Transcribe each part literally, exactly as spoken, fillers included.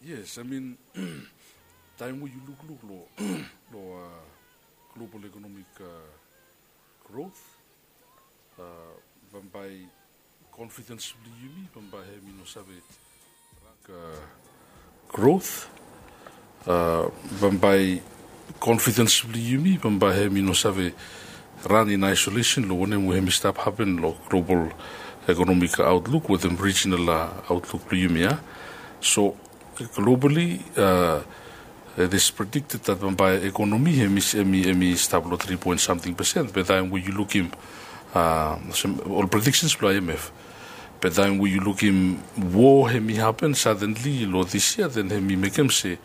Yes, I mean, taem we yu lukluk lo, lo uh, global economic uh, growth, uh, bambae confidence blong yumi bambae hemi no save uh, growth, uh, bambae confidence blong yumi bambae hemi no save ran in isolation lo wanem we hemi stap happen lo global economic outlook wetem regional uh, outlook blong yumi ia. So globally, uh, it is predicted that bambae economy hemi, hemi, hemi stap lo three point something percent, be taem we yu lukim uh, ol predictions blong I M F. Be taem we yu lukim war hemi happen suddenly lo this year, then hemi mekem se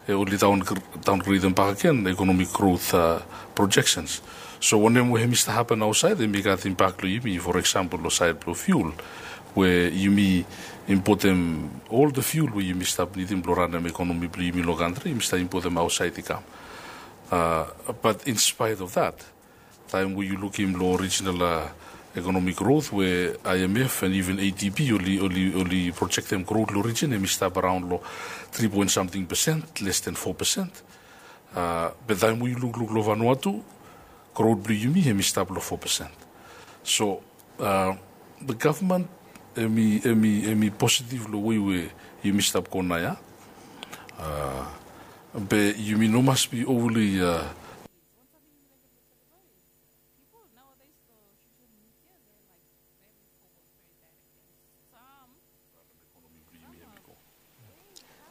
eh, oli down, downgradem bakegen economic growth uh, projections. So wanem we hemi stap happen ausait hemi gat impact lo yumi, for example lo side blong fuel, we yumi importem ol the fuel we yumi stap nidim blong ranem economy blong yumi lo country, yumi stap importem ausait i kam. Uh, but in spite of that, taem we yu lukim lo regional uh, economic growth we I M F and even A D B oli, oli, oli projectem growth lo region hemi stap around lo three point something percent, less than four percent. Uh, be taem we yu lukluk lo Vanuatu, growth blong yumi hemi stap lo four percent. So uh, the government hemi, hemi, hemi positive lo wei we yumi stap go naoia. Uh, be yumi no mas be overly uh,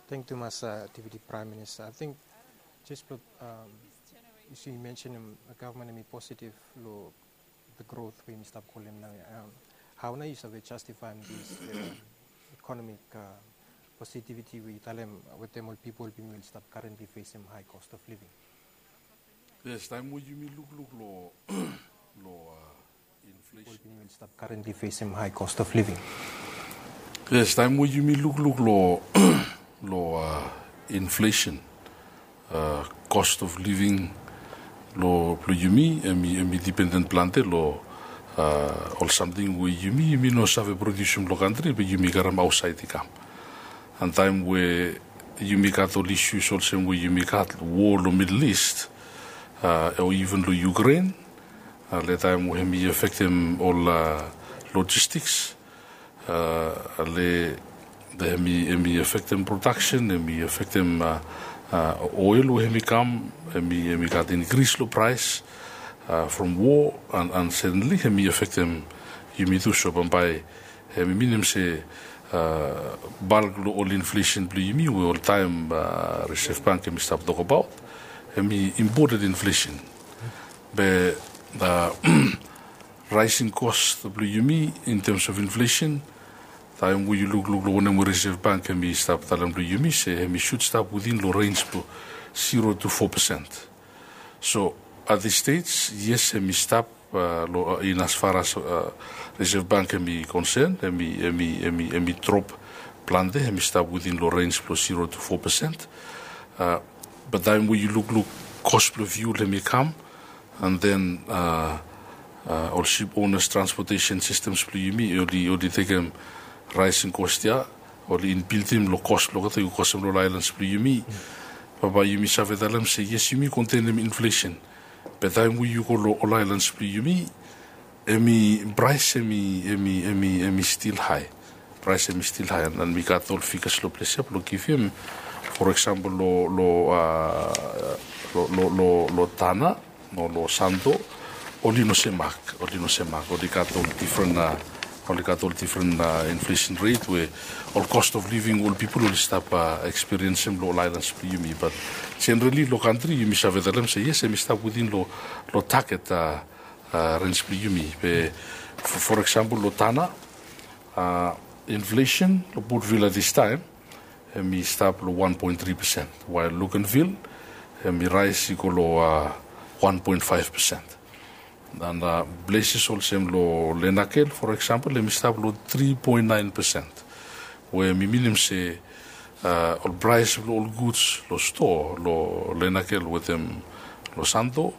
Thank you, Mas uh, Deputy Prime Minister. I think just look, um, you see, you mentioned um, the government be positive lo the growth we stop calling now. Um, how now you save justify this uh, economic uh, positivity we tell them with them all people being will stop currently facing high cost of living? Yes, taem we yumi lukluk lo lo uh, inflation. Stop currently facing high cost of living. Yes, taem we yumi lukluk lo lo uh, inflation, uh, cost of living lo blong yumi, hemi, hemi dependent plante lo uh, ol samting we yumi, yumi no save produsim lo country be yumi karem ausait i kam. And taem we yumi gat ol issues olsem we yumi gat war lo Middle East, uh, o even lo Ukraine, uh, le taem we hemi affectem ol uh, logistics, uh, le hemi, hemi affectem production, hemi affectem uh, uh, oil we hemi kam, hemi, hemi gat increase lo price uh, from war, and, and certainly hemi affectem yumi tu. So bambae hemi minim se uh, bulk lo ol inflation blong yumi we oltaem uh, Reserve Bank hemi stap tokbaot, hemi imported inflation. Be uh, rising cost blong yumi in terms of inflation, taem we yu lukluk lo wanem we Reserve Bank hemi stap talem blong yumi se hemi should stap within lo range blong zero to four percent. So at this stage, yes, hemi stap uh, lo, uh, in as far as uh, Reserve Bank hemi concern, hemi, hemi, hemi, hemi drop plante, hemi stap within lo range blong zero to four percent. Uh, be taem we yu lukluk cost blong fuel hemi kam, and then uh, uh, ol ship owners transportation systems blong yumi oli, oli tekem rising cost ia, oli inbuiltim lo cost blong olgeta i go kosem lo ol islands blong yumi. Bambae yumi save talem se yes, yumi kontenem inflation. Be taem we yu go lo ol islands blong yumi, hemi price hemi, hemi, hemi, hemi still high. Price hemi still high, and, and mi gat ol figures lo ples ia blong givim. For example lo, lo, uh, lo, lo, lo, lo Tanna, no, lo Santo, oli no semak, oli no semak, oli gat ol different uh, oli gat ol different uh, inflation rate we ol cost of living ol people oli stap uh, experiencem lo ol islands blong yumi. But generally lo country yumi save talem se yes, hemi stap within lo, lo target uh, uh, range blong yumi. Be for, for example lo Tanna, uh, inflation lo Port Vila this time hemi stap lo one point three percent, while Luganville hemi rise i go lo uh, one point five percent. And uh, places olsem lo Lenakel, for example, hemi stap lo three point nine percent, we hemi minim se uh, ol price blong ol goods lo store lo Lenakel wetem lo Santo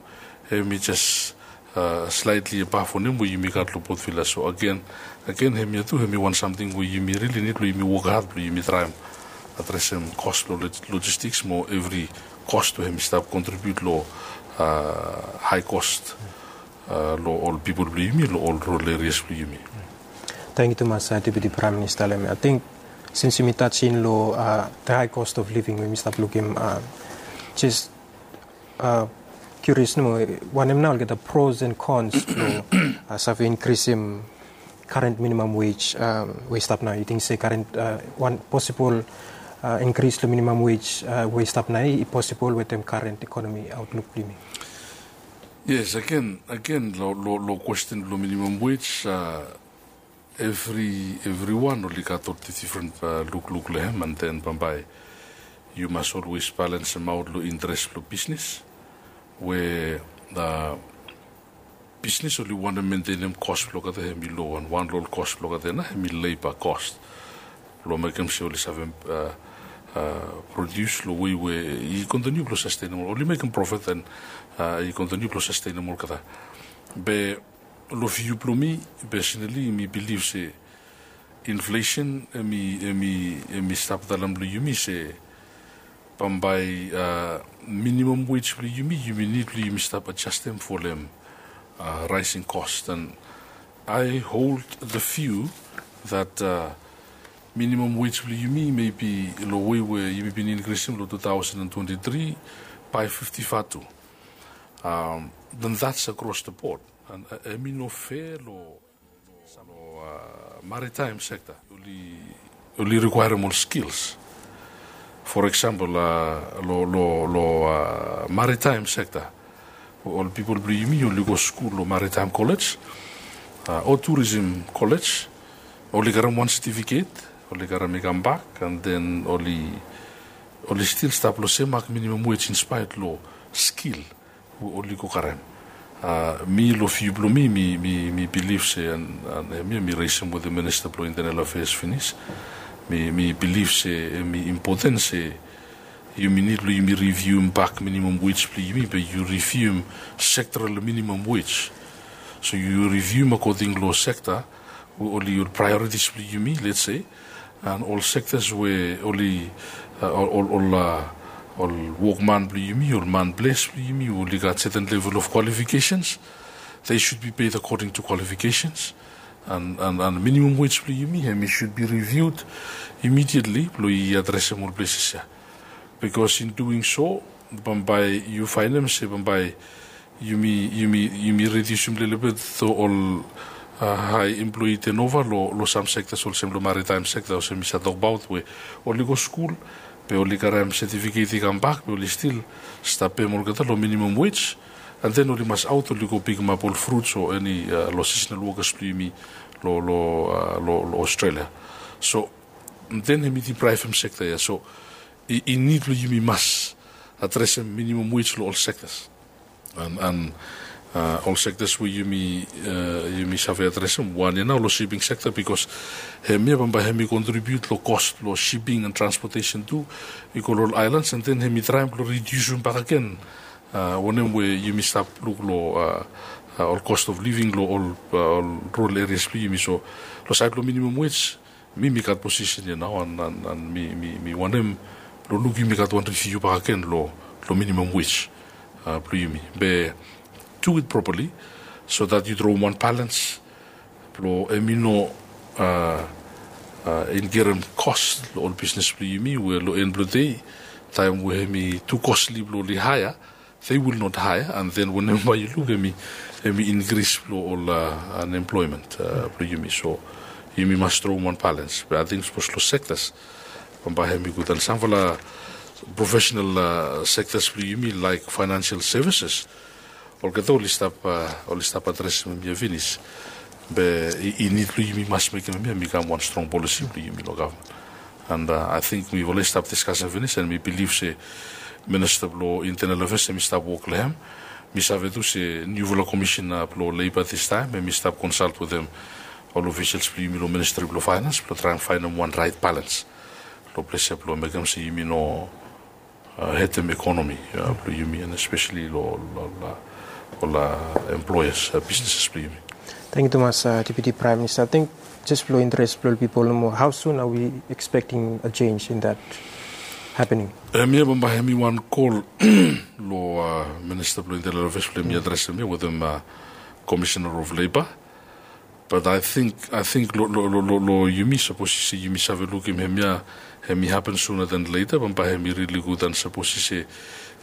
hemi just uh, slightly above wanem we yumi gat lo Port Vila. So again, Agen, hemia tu hemi wan samting we yumi rili nid blong yumi wok had blong yumi traem adresem kos blong logistiks mo evri kos we hemi stap kontribiut long hae kos long ol pipol blong yumi long ol rurol erias blong yumi. Tangkiu tumas, Deputi Praem Minista. Long hemia ating sins yumi tasim long the high cost of living we yumi stap lukim, jes kurios nomo, wanem nao olgeta pros and cons blong save inkrisim current minimum wage we i stap nao? Yu ting se current, wan posibol inkris long minimum wage we i stap nao i posibol wetem current ekonomi outlook blong yumi? Yes, agen, agen long kwesten blong minimum wage, evri evriwan oli gat ol difren lukluk long hem, and then bambae yu mas olwes balensemaot long interes blong bisnes we bisnes oli wantem mentenem kos blong olgeta hemi lo, and wan long ol kos blong olgeta nao hemi leba kos blong mekem se oli save prodius long wei we i kontiniu blong sastenemol, oli mekem profet and i kontiniu blong sastenemol olgeta. Be long viu blong mi, pesonali mi bilif se inflesen hemi, hemi, hemi stap talem long yumi se bambae minimum wage blong yumi, yumi nid blong yumi stap adjastem folem rising cost. And I hold the view that minimum wage blong yumi maybe long wei we yumi bin inkrisim long two thousand and twenty-three by fifty-five tu, then that's across the board. And hemi no fair long maritime sector. Oli, oli rikwaerem ol skills. For example, long, long, long maritime sector, ol pipol blong yumi oli go skul long maritime college o tourism college, oli karem wan certificate, oli karem i kambak, and then oli, oli stil stap long sem mak minimum wage in spite long skill we oli go karem. Mi long viu blong mi, mi, mi bilif se, and hemia mi resem wetem Minista blong Internal Affairs finis, mi, mi bilif se hemi impoten se yumi nid long yumi riviuem bak minimum wage blong yumi, be yu riviuem sektoral minimum wage. So yu riviuem akoding long sekta we oli ol priorities blong yumi, let's say, and ol sektas we oli, ol, ol, ol wokman blong yumi, ol man ples blong yumi we oli gat certain level of qualifications, they should be paid according to qualifications. And, and, and minimum wage blong yumi hemi should be reviewed immediately blong i adresem ol places ia. Because in doing so, bambae yu faenem se bambae yumi, yumi, yumi rediusim lelebet ol hae employee turnover long, long sam sektas olsem long maritime sekta olsem mi save tokbaot we oli go skul, be oli karem setifiket i kambak, be oli stil stap pem olgeta long minimum wage. And then oli mas aot oli go pikimap ol fruits o eni long seasonal workers blong yumi long, long, long Australia. So then hemi deprive hem sekta ia. So i, i nid long yumi mas adresem minimum wage long ol sektas. And, and ol sektas we yumi, yumi save adresem, wan ia nao long shipping sekta, bikos hemia bambae hemi kontribiut long kos blong shipping and transportation tu i go long ol aelans, and then hemi traem blong ridiusim bakegen wanem we yumi stap luk long ol cost of living long ol, ol rural areas blong yumi. So long saed blong minimum wage, mi, mi gat posisen ia nao, and, and, and mi, mi, mi wantem long luk yumi gat wan riviu bakegen long, long minimum wage blong yumi, be do it properly so that yu droem wan balens blong hemi no inkerem kos long ol bisnes blong yumi, we long en blong dei, taem we hemi tu kosli blong oli haea, they will not hire, and then wanem bae yu luk hemi, hemi inkris blong ol unemployment blong yumi. So yumi mas droem wan balens. Be ating sapos long sektas bambae hemi gud, and samfala professional sektas blong yumi laek financial services, olgeta oli stap, oli stap adresem hemia finis. Be i, i nid blong yumi mas mekem hemia i kam wan strong polisi blong yumi long gavman. And ating mifala i stap diskasem finis, and mi bilif se Minista blong Internal Affairs hemi stap wok long hem. Mi save tu se niufala komisena blong Leiba distaem hemi stap konsalt wetem ol ofisels blong yumi long Ministri blong Faenans blong traem faenem wan raet balens long ples ia blong mekem se yumi no hetem ekonomi blong yumi, and espeseli long ol, ol employers, bisneses blong yumi. Tangkiu tumas, Deputi Praem Minista. Ating jes blong interes blong ol pipol nomo, hao sun are we expecting a change in that happening? Hemia bambae hemi wan kol long Minista blong Internal Affairs blong hemi adresem ia wetem Commissioner of Labour. Bat ating long yumi sapos i se yumi save lukim hemia, hemi hapen suna than leta bambae hemi rili gud. An sapos i se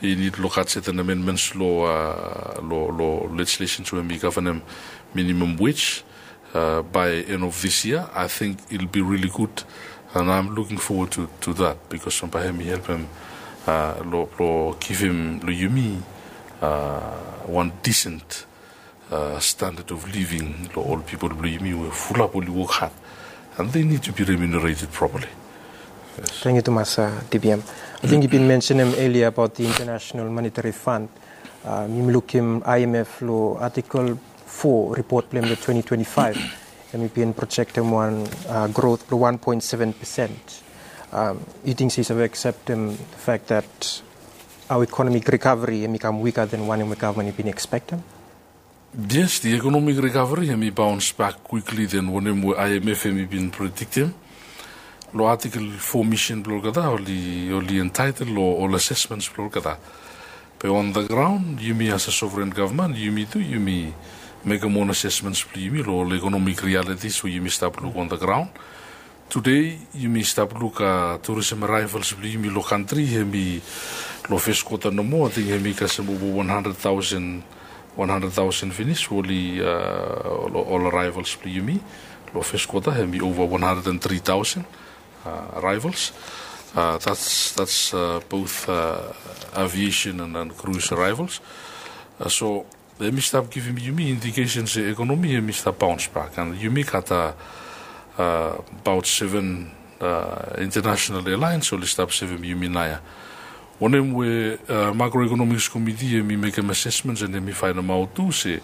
i nid long gat seten amendments long legislation we hemi gavenem minimum wage by end of this year, ating it'll be rili gud. An aem luking fowod tu dat bikos bambae hemi helpem long givim long yumi wan disent standad of living long ol pipol blong yumi we fulap oli wok had. An they nid tu bi remunerated properly. Tangkiu tumas, Deputi Praem. Ating yu bin mensenem elia abaot the International Monetary Fund. Yumi lukim IMF long artikel fo ripot blong hem long twenty twenty-five, hemi bin projektem wan growth blong one point seven percent. Yu ting se yu save akseptem the fact that our economic recovery hemi kam wika than wanem we gavman i bin ekspektem? Yes, the economic recovery hemi bounce back quickly than wanem we IMF hemi bin prediktem. Long artikel fo misin blong olgeta oli entitle long ol assessments blong olgeta. Be on the ground yumi as a sovereign gavman yumi tu yumi mekem own assessments blong yumi long ol economic realities we yumi stap luk on the ground. Tude yumi stap luk tourism arrivals blong yumi long kantri hemi long fes kwota nomo ating hemi kasem ova wan handred taosen, wan handred taosen finis we oli ol arrivals blong yumi long fes kwota hemi ova wan handred and tri taosen arrivals. That's both aviation and cruise arrivals. So hemi stap givim yumi indikesen se ekonomi hemi stap bounce back an yumi gat abaot seven international airlines oli stap sevem yumi naoia. Wanem we macroeconomics committee hemi mekem assessments an hemi faenemaot tu se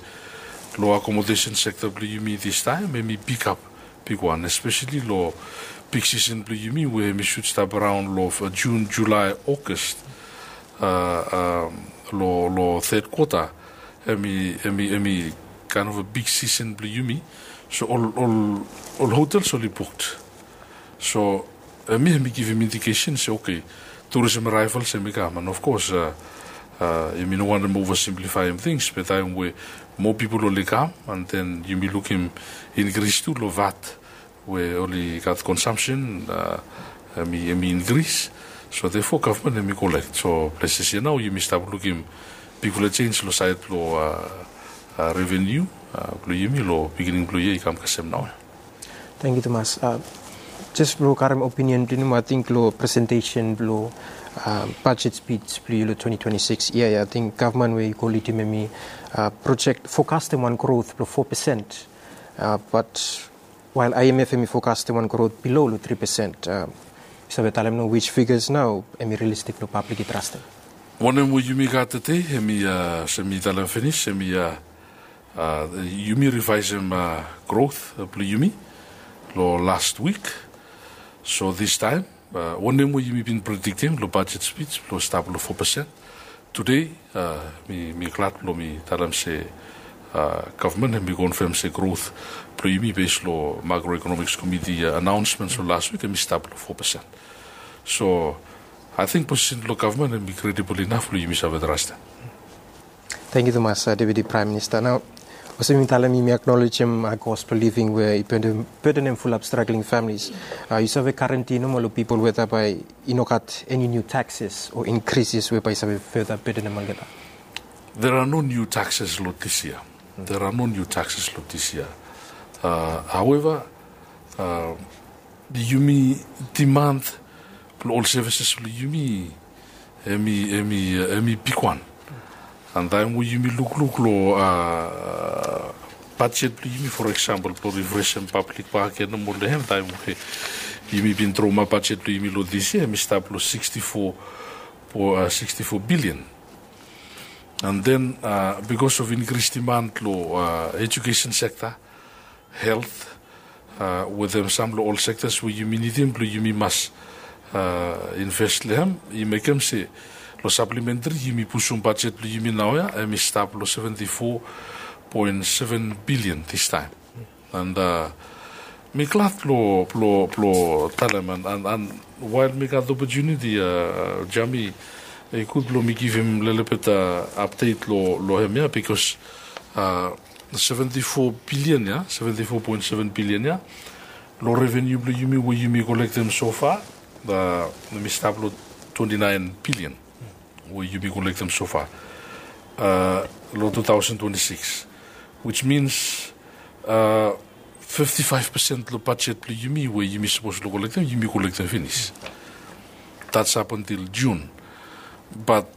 long accommodation sector blong yumi distaem hemi pikap bigwan, especially long peak season blong yumi we hemi should stap around long June, July, August. Long third quarter hemi kaen of a big season blong yumi. So ol hotels oli booked. So hemi hemi givim indikesen se okay, tourism arrivals hemi kam an of course yumi no wantem oversimplifyem things be taem we moa pipol oli kam an then yumi lukim inkris tu long vat we oli gat consumption hemi inkris. So therefore gavman hemi kolek. So places ia nao yumi stap lukim bigfala jenj long saed blong revenue blong yumi long pikinini blong yia i kam kasem nao. Tangkiu tumas. Jes blong karem opinion blong yumi ating long presentesen blong budget spij blong yu long twenty twenty-six ia ia ating gavman we i go lidim hemi projek fokastem wan growth blong fo pesen. Bat wael IMF hemi fokastem wan growth bilo long tri pesen. Yu save talem nao which figures nao hemi realistik blong pablik i trastem? Wanem we yumi gat tede hemi olsem mi talem finis hemi yumi rivaesem growth blong yumi long last wik. So distaem wanem we yumi bin prediktem long budget spij blong stap long fo pesen. Tude mi glad blong mi talem se gavman hemi konfem se growth blong yumi bes long macroeconomics committee anaonsments long last wik hemi stap long fo pesen. So ating posisen blong gavman hemi kredibol inaf blong yumi save trastem. Tangkiu tumas, Deputi Praem Minista. Nao olsem yumi talem yumi aknolejem cost blong living we i bedenem fulap struggling families. Yu save garanti nomo long pipol weta bae i no gat eni niu taxes o inkrises we bae i save further bedenem olgeta? There are no new taxes long this year. There are no new taxes long this year. However, yumi demand blong ol services blong yumi hemi bigwan. An taem we yumi lukluk long budget blong yumi for example blong refreshem pablik baken nomo long hem taem we yumi bin tromap budget blong yumi long this year hemi stap long sixty-four billion. An then bikos of inkris demand long education sector, health, wetem sam long ol sectors we yumi nidim blong yumi mas invest long hem, i mekem se long supplementary yumi pusum budget blong yumi naoia hemi stap long seventy-four poen seven bilian distaem. And uh, mi glad blong blong blong talem and, and, and while mi gat opportunity uh, Jami, i gud blong mi givim lelebet uh, update lo lo hem ya because uh, seventy-four bilian ya, seventy-four point seven bilian ya, lo revenue blong yumi we yumi kolektem so far, uh, mi stap lo twenty-nine bilian we yumi kolektem so far uh, lo two thousand twenty-six, which means uh, fifty-five percent lo budget blong yumi we yumi sapos lo kolektem, yumi kolektem finis. That's up until June. But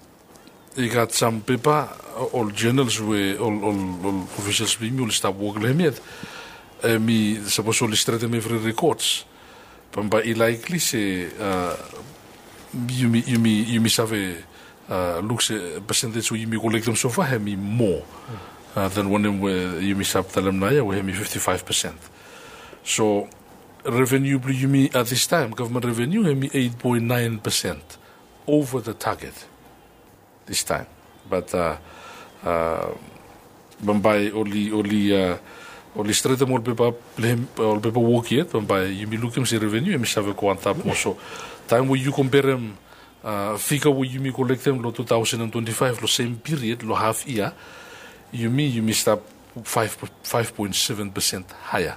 i gat sam pepa, ol journals we ol ol ol officials blong yumi oli stap wok lo hem yet, em i sapos oli stretem evri records, bambae i likely se uh, yumi yumi yumi save uh, luk se percentage we yumi kolektem so far hem i more uh, than wanem we yumi stap talem naoia we hem i fifty-five percent. So revenue blong yumi at this time, government revenue hem i eight point nine percent over the target this time. But uh, uh, bambae oli oli uh, oli stretem ol pepa blong hem, ol pepa wok yet, bambae yumi lukim se revenue hem i save go antap moa. So taem we yu komperem uh, figa we yumi kolektem lo two thousand and twenty-five lo sem period lo haf yia, yumi yumi stap five five point seven percent haea.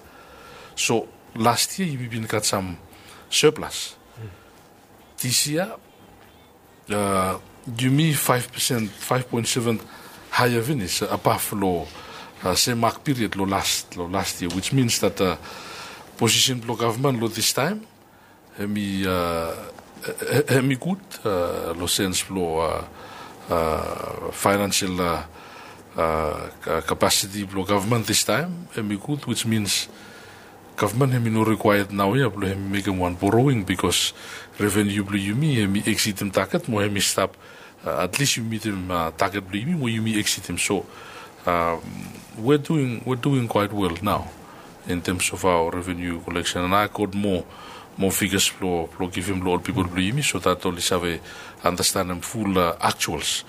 So last yia yumi bin gat sam surplus. This yia uh, yumi five percent, five point seven haea finis uh, above lo uh, sem mak period lo last lo last yia, which means that uh, posisen blong gavman lo this time hem i uh, hem i gud uh, lo sens blong uh, uh, financial uh, uh, capacity blong gavman this time hem i gud, which means gavman hem i no required naoia blong hem i mekem wan borrowing because revenue blong yumi hem i eksidim target mo hem i stap uh, at least yumi mitim uh, target blong yumi mo yumi eksidim. So um, we're doing we're doing quite well now in terms of our revenue collection, and I got more more figures blong blong givim long ol pipol blong yumi so that oli save understandem full uh, actuals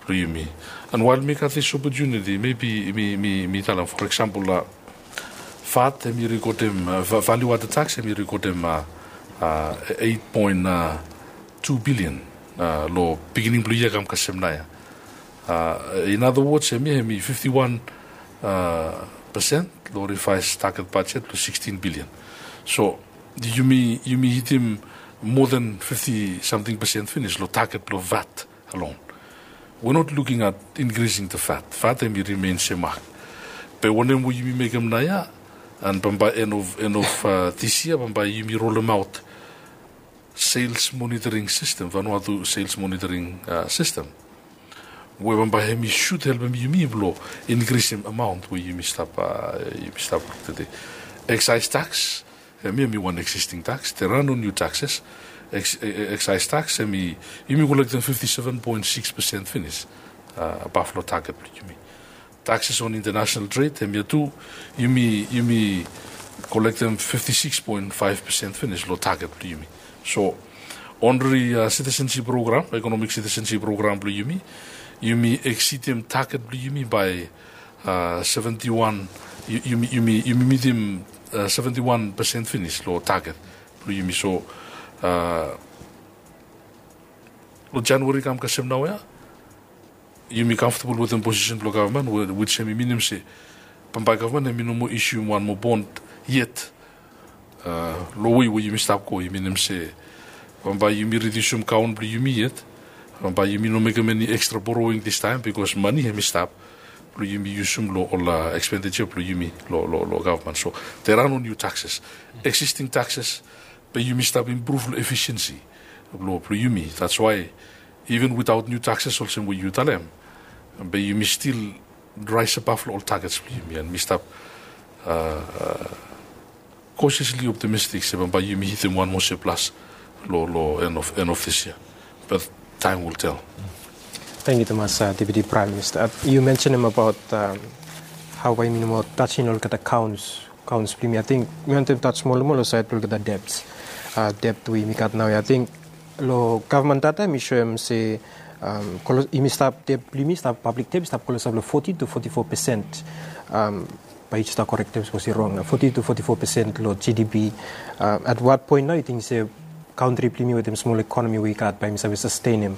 blong yumi. And while mi gat this opportunity, maybe mi mi mi talem, for example uh, vat hem i rekodem uh, value added tax hem i rekodem uh, uh, eight point two billion uh, lo beginning blong yia kam kasem naoia. Uh, in other words, hem i hem i fifty-one uh, percent lo revised target budget lo sixteen billion. So yumi yumi hitim more than fifty something percent finis lo target blong vat alone. We're not looking at increasing the vat. Vat hem i remain sem mak. Be wanem we yumi mekem naoia, and bambae end of end of uh, this year bambae yumi rolemaot sales monitoring system, Vanuatu sales monitoring uh, system, we bambae hem i should helpem yumi blong increasem amount we yumi stap uh, yumi stap luk tede. Excise tax, hem i hem i wan existing tax, there are no new taxes. Ex, e, e, excise tax hem i yumi kolektem fifty-seven point six percent finis uh, above lo target blong yumi. Taxes on international trade, hem ia tu yumi yumi kolektem fifty-six point five percent finis lo target blong yumi. So onri uh, citizenship program, economic citizenship program blong yumi, yumi eksidim target blong yumi by uh, seventy-one, yumi yumi yumi mitim uh, seventy-one percent finis lo target blong yumi. So uh, lo January kam kasem naoia, yumi comfortable wetem posisen blong gavman, which hem i minim se bambae gavman hem i no moa issuem wan moa bond yet. Uh, lo wei we yumi stap go i minim se bambae yumi ridiusim kaon blong yumi yet, bambae yumi no mekem eni extra borrowing this time because mane hem i stap blong yumi yusum lo ol uh, expenditure blong yumi lo lo lo gavman. So there are no new taxes. Existing taxes, be yumi stap improve lo efficiency blong blong yumi. That's why even without new taxes olsem we yu talem, be yumi still rise above lo ol targets blong yumi, and mi stap uh, uh, cautiously optimistic se bambae yumi hitim wan moa surplus lo lo end of end of this year. But time will tell. Thank you, Thomas, uh, Deputy Prime Minister. Uh, you mentioned him about um, how by minimal touching olgeta counts counts blong yumi. I think mi wantem touch moa lo moa lo side blong olgeta debts. Uh, debt we yumi gat naoia. I think lo gavman data mi soem se Yumi stap, dep blong yumi stap, pablik dep i stap klosap long foti to foti fo pesen. Bae yu stap korektem sapos i rong, foti to foti fo pesen long G D P. At wat poen nao yu ting se kantri blong yumi wetem smol ekonomi we i gat bae yumi save sastenem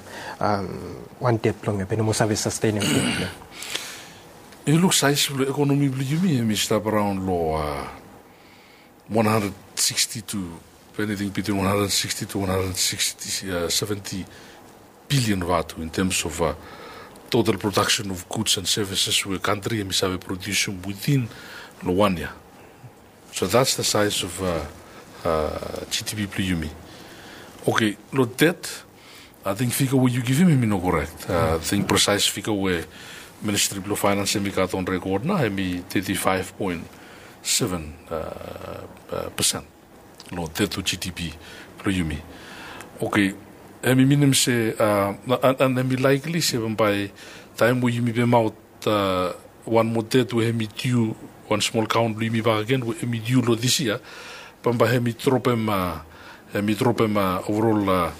wan dep blong hem, bae i no moa save sastenem dep blong hem? Yu luk saes blong ekonomi blong yumi, hemi stap araon long wan handred siksti to, eniting bitwin wan handred siksti to wan handred siksti, seventi bilian vatu in terms of total production of goods and services we kantri hemi save produsum within long wan yia. So that's the size of G D P blong yumi. Oke, long det, ating figa we yu givim hemi no korek. Ating presaes figa we Ministri blong Faenans hemi gat on rekod nao hemi teti faef poen seven pesen long det to G D P blong yumi. Oke, hemi minim se, an hemi laekli se bambae taem we yumi pemaot wan moa det we hemi diu, wan smol kaon blong yumi bakegen we hemi diu long dis yia, bambae hemi dropem, hemi dropem overall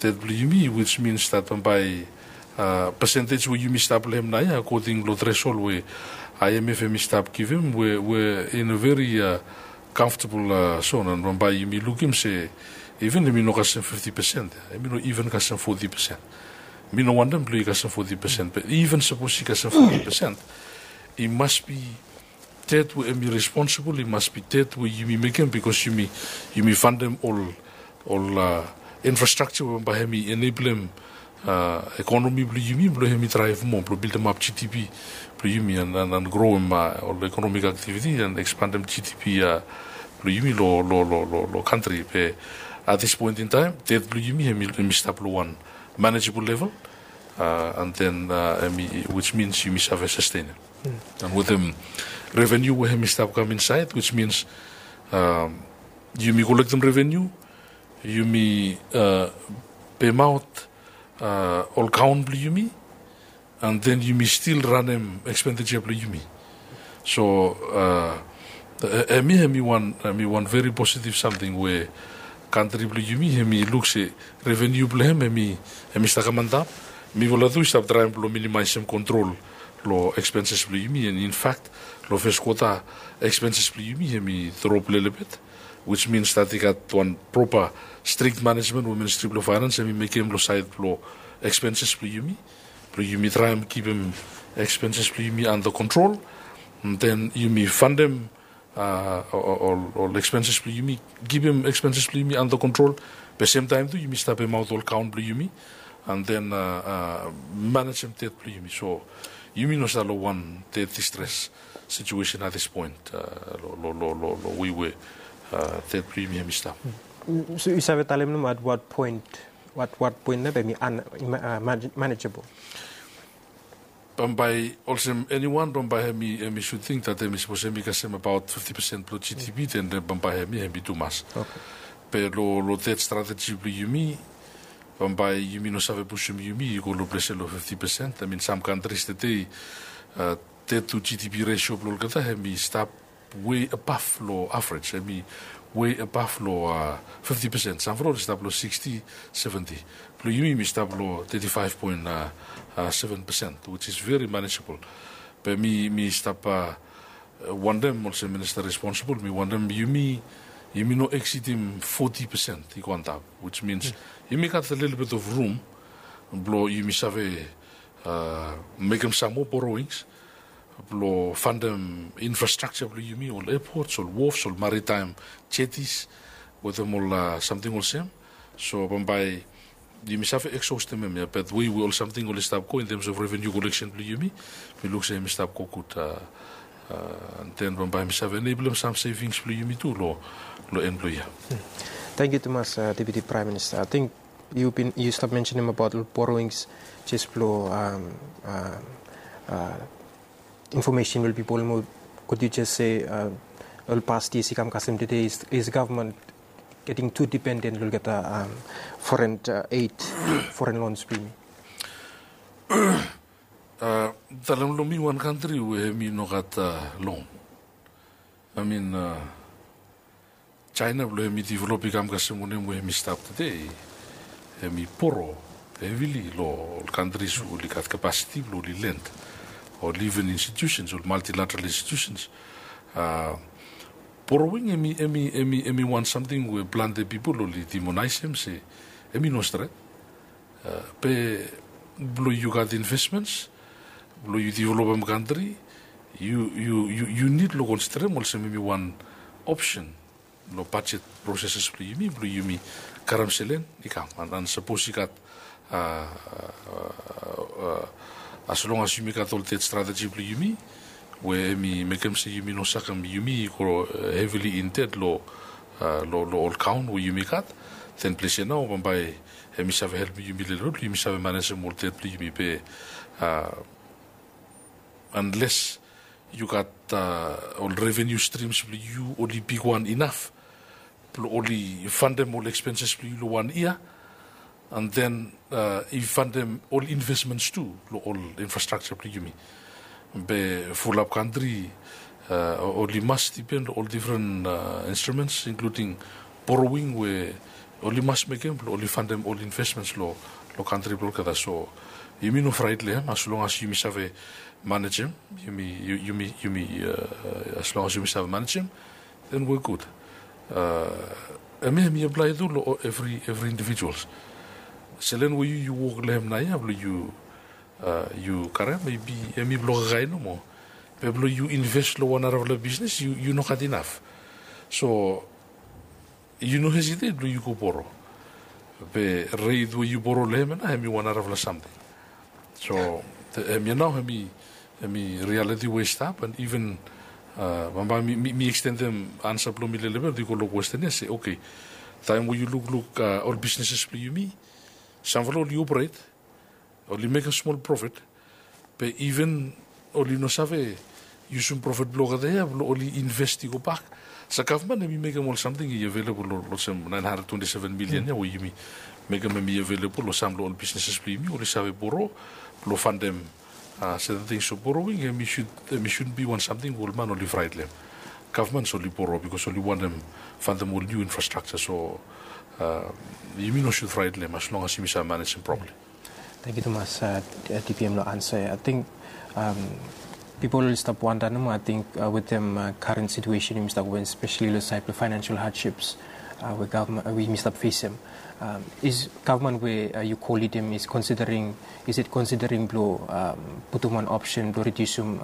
det blong yumi, which means that bambae pesentej we yumi stap long hem naoia, according long threshold we I M F hemi stap givim, we, we in a very comfortable zone, an bambae yumi lukim se even hemi no kasem fifti pesen, hemi no even kasem foti pesen. Mi no wantem blong i kasem foti pesen, be even sapos i kasem foti pesen, i mas be det we hemi responsibol, i mas be det we yumi mekem, bikos yumi, yumi fandem ol, ol infrastructure we bambae hemi eneblem ekonomi blong yumi blong hemi draev moa, blong bildemap G D P blong yumi, an, an, an groem ol economic activity an ekspandem G D P blong yumi long, long, long, long, long kantri. Be at this point in time, det blong yumi hemi, hemi stap long wan manageable level, and then, hemi, which means yumi save sastenem. An wetem revenue we hemi stap kam insaed, which means yumi kolektem revenue, yumi pemaot ol kaon blong yumi, and then yumi stil ranem expenditure blong yumi. So, hemi, hemi wan, hemi wan very positive samting we kantri blong yumi hemi luk se revenue blong hem hemi, hemi stap kam antap. Mifala tu i stap traem blong minimaesem kontrol long expenses blong yumi, and in fact long fes kwota expenses blong yumi hemi drop lelebet, which means that i gat wan proper strict management we Ministri blong Faenans hemi mekem long saed blong expenses blong yumi, blong yumi traem kipim expenses blong yumi under control. And then yumi fandem ol, ol expenses blong yumi, kipim expenses blong yumi under control. Be semtaem tu yumi stap pemaot ol kaon blong yumi, and then manejem det blong yumi. So yumi no stap long wan det distress situation at this point, long, long, long, long, long wei we det blong yumi hemi stap. So yu save talem nomo at what point, what, what point nao be hemi manageable? Bambae olsem eniwan bambae hemi, hemi sud ting that hemi sapos hemi kasem abaot fifti pesen blong G D P, then bambae hemi, hemi tumas. Be long, long det strateji blong yumi, bambae yumi no save pusum yumi i go long ples ia long fifti pesen. I mean, sam kantris tede, det to G D P ratio blong olgeta hemi stap way above long average, hemi way above long fifti pesen. Sam from ol i stap long siksti, seventi. Blong yumi, mi stap long teti faef poen seven pesen, which is very manageable. Be mi, mi stap wantem olsem minista responsibol, mi wantem yumi, yumi no eksidim foti pesen i go antap, which means yumi gat a little bit of room blong yumi save mekem sam moa borrowings blong fandem infrastructure blong yumi, ol airports, ol wharfs, ol maritime jetties, wetem ol samting olsem. So bambae yumi save exhaustem hem ia, be wei we ol samting oli stap go in terms of revenue collection blong yumi, mi luk se hemi stap go gud, and then bambae hemi save eneblem sam savings blong yumi tu long, long en blong ia. Tangkiu tumas, Deputy Prime Minister. Ating yu bin, yu stap mensenem abaot ol borrowings, jes blong infomesen we ol pipol i no gat. Yu jes se ol past years i kam kasem tede is, is government getting too dependent long olgeta foreign aid, foreign loans blong yumi? Talem long mi wan kantri we hemi no gat loan. I mean, China blong hemi develop i kam kasem wanem we hemi stap tede, hemi boro, hevili long ol kantris we oli gat kapasiti blong oli lend, ol even institutions, ol multilateral institutions. Borrowing hemi hemi hemi hemi wan samting we plante pipol oli demonaesem se hemi no stret. Be blong yu gat investments, blong yu developem kantri, yu yu yu yu nid long konsiderem olsem hemi wan opsen long bajet proseses blong yumi blong yumi karem selen i kam. An sapos i gat as long as yumi gat ol det strateji blong yumi we hemi mekem se yumi no sakem yumi i go hevili in det long long ol kaon we yumi gat, then ples ya nao bambae hemi save helpem yumi lelebet blong yumi save manejem ol det blong yumi be unless yu gat ol revenu strims blong yu oli bigwan inaf blong oli fandem ol ekspenses blong yu long wan yia, an then i fandem ol investments tu long ol infrastrakja blong yumi. Be fulap kantri oli mas dipen long ol difren instruments inkluding borrowing we oli mas mekem blong oli fandem ol investments long kantri blong olgeta. So yumi no fraet long hem as long as yumi save manejem. Yumi yumi yumi as long as yumi save manejem, then we gud. Hemia hemi aplae tu long evri evri individuals. Selen we yu yu wok long hem naoia blong yu yu karem maybe hemi blong kakae nomo. Be blong yu inves long wan narafala bisnes yu no gat inaf. So yu no hesitet blong yu go boro. Be ret we yu boro long hem ya nao hemi wan narafala samting. So hemia nao hemi hemi rialiti we i stap an even bambae mi ekstendem ansa blong mi lelebet i go long kwesten ya se oke, taem we yu lukluk ol bisneses blong yumi, samfala oli operat, oli mekem smol profet, be even oli no save yusum profet blong olgeta ya blong oli inves i go bak. So gavman hemi mekem ol samting i avelebol long olsem naen handred twenti seven milian ya we yumi mekem hemi avelebol long sam long ol bisneses blong yumi oli save boro blong fandem. Seten tings of borrowing hemi sud hemi sud bi wan samting we ol man oli fraet long hem. Gavman oli boro bikos oli wantem fandem ol niu infrastrakja. So yumi no sud fraet long hem as long as yumi save manejem properli. Tangkiu tumas, dpm long ansa ya ating pipol oli stap wanda nomo ating wetem karen situesen yumi stap wen spesali long saed blong faenansial hadships we gavman we yumi stap fesem. Is gavman we yu kolidim is konsidering is it konsidering blong putum wan opsen blong ridiusim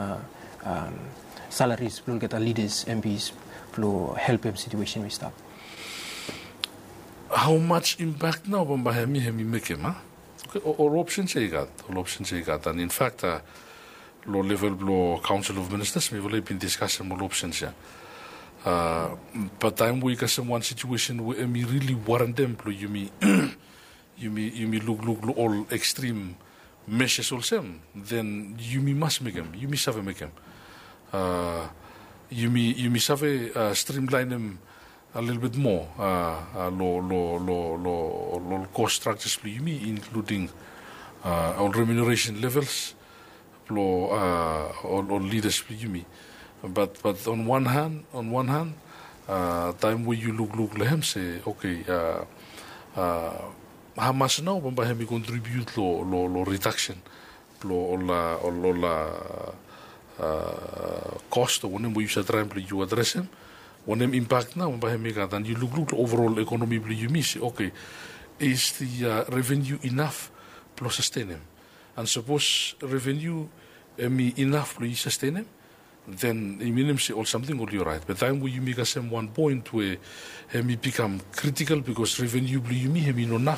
salaris blong olgeta lidas, mps blong helpem situesen we i stap? Hau mas impak nao bambae hemi hemi mekem a? Ol opsens ya i gat ol opsens ya i gat an infak long level blong kaonsel of ministas mifala i bin diskasem ol opsens ya. Bat taem we i kasem wan situesen we hemi rili warentem blong yumi yumi lukluk long ol ekstrim meses olsem, then yumi mas mekem yumi save mekem. Yumi save strimlaenem a lelebet moa long long long long long kos strakjas blong yumi inkluding ol remuneresen levels blong ol ol lidas blong yumi. Bat bat on wan han on wan han taem we yu lukluk long hem se oke, hamas nao bambae hem i kontribiut long long long redaksen blong ol ol ol kos o wanem we yu save traem blong yu adresem? Wanem impak nao bambae hem i gat an yu lukluk long overol ekonomi blong yumi se oke, is the revenu inaf blong sastenem? An sapos revenu hem i inaf blong yu sastenem, then i minim se ol samting oli oraet. Be taem we yumi kasem wan poen we hem i bikam kritikal bikos revenu blong yumi hem i no naf